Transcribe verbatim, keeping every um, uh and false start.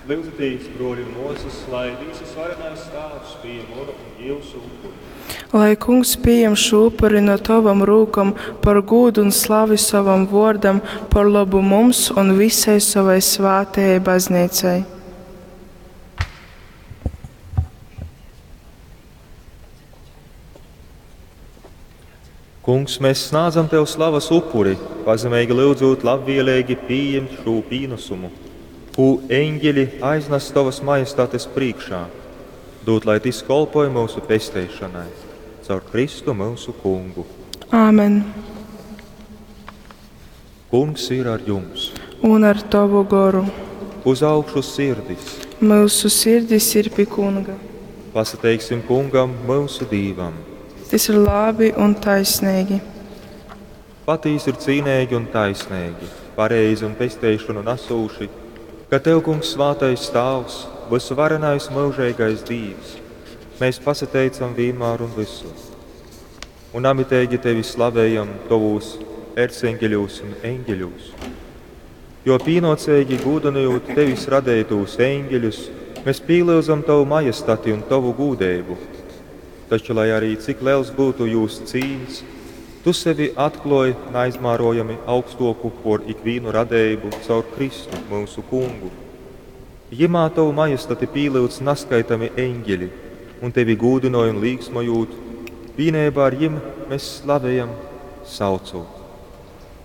Lyudzitīs, bruoļi un muosys, lai Dīvs Vysvarenais Tāvs pījem munu un jiusu upuri. Lai Kungs pījam šū upuri no tovom rūkom par gūdu un slavi sovam vōrdam, par lobu mums un vysai sovai svātajai Bazneicai. Kungs, mēs snādzam Tev slavas upuri, pazemeigi lyudzūt labvieleigi pījimt šū pīnasumu, kū eņģeļi aiznas Tovas majestates prīškā, dūt, lai tys kolpoj myusu pesteišanai, caur Kristu myusu Kungu. Āmen. Kungs ir ar jums! Un ar tovu goru. Uz augšu sirdis! Myusu sirdis ir pi Kunga. Pasateiksim Kungam, myusu Dīvam! Tys ir labi un taisneigi. Patīsi ir cīneigi un taisneigi, pareizi un pesteišonu nasūši, ka Tev, Kungs, svātais Tāvs, vysuvarenais myužeigais Dīvs, mēs pasateicam vīnmār un vysur. Un namiteigi Tevi slavējam Tovūs erceņgeļūs un eņģeļūs. Jo pīnōceigi gūdynojūt Tevis radeitūs eņģeļus, mēs pīlyudzam Tovu majestati un Tovu gūdeibu. Taču, lai arī cik liels būtu jūs cīns, Tu sevi atklōj naizmērojami augstōku por ikvīnu radeibu caur Kristu, myusu Kungu. Jymā Tovu majestati pīlyudz naskaitami eņģeļi un Tevi gūdynoj un līksmojūt, vīneibā ar jim mēs slavejam, saucot.